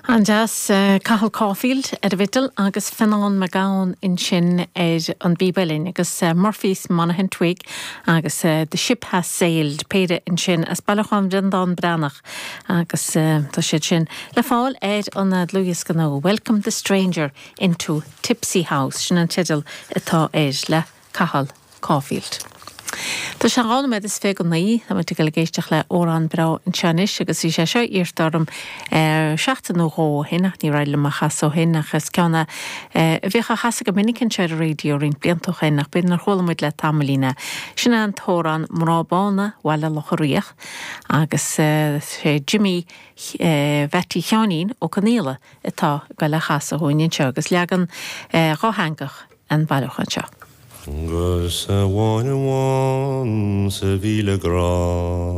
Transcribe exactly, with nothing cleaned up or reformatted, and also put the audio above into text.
An-deas Cathal Caulfield ar an bhfidil agus Fionnán McGowan ansin ar an bpíb uilleann agus Murphy's Monaghan Twig agus The Ship Has Sailed péire ansin as bailiúchán Bhreandán Breathnach agus tá siad sin le fáil ar an dlúthdhiosca nua Welcome the Stranger into Tipsy House sin an teideal atá air le Cathal Caulfield. Tá sé dhá nóiméad is fiche go naoi tá muid ag éisteacht le amhrán breá anseo anois agus bhí sé seo iarrta orm seachtain nó dhó ó shin ach ní raibh liom a chasadh ó shin ach is ceann a bhíodh á chasadh go minic anseo ar an raidió roinnt blianta ó shin ach b'fhéidir nár chuala muid le tamaillín é. Sin an t-amhrán Mná Bána Bhaile Locha Riach agus sé Jimmy Mhattie Sheáinín Ó Conaola atá ag dul é a chasadh dúinn anseo agus leagan dátheangach an bailiúchán seo. Gus amháin amháin sa mhíle grá.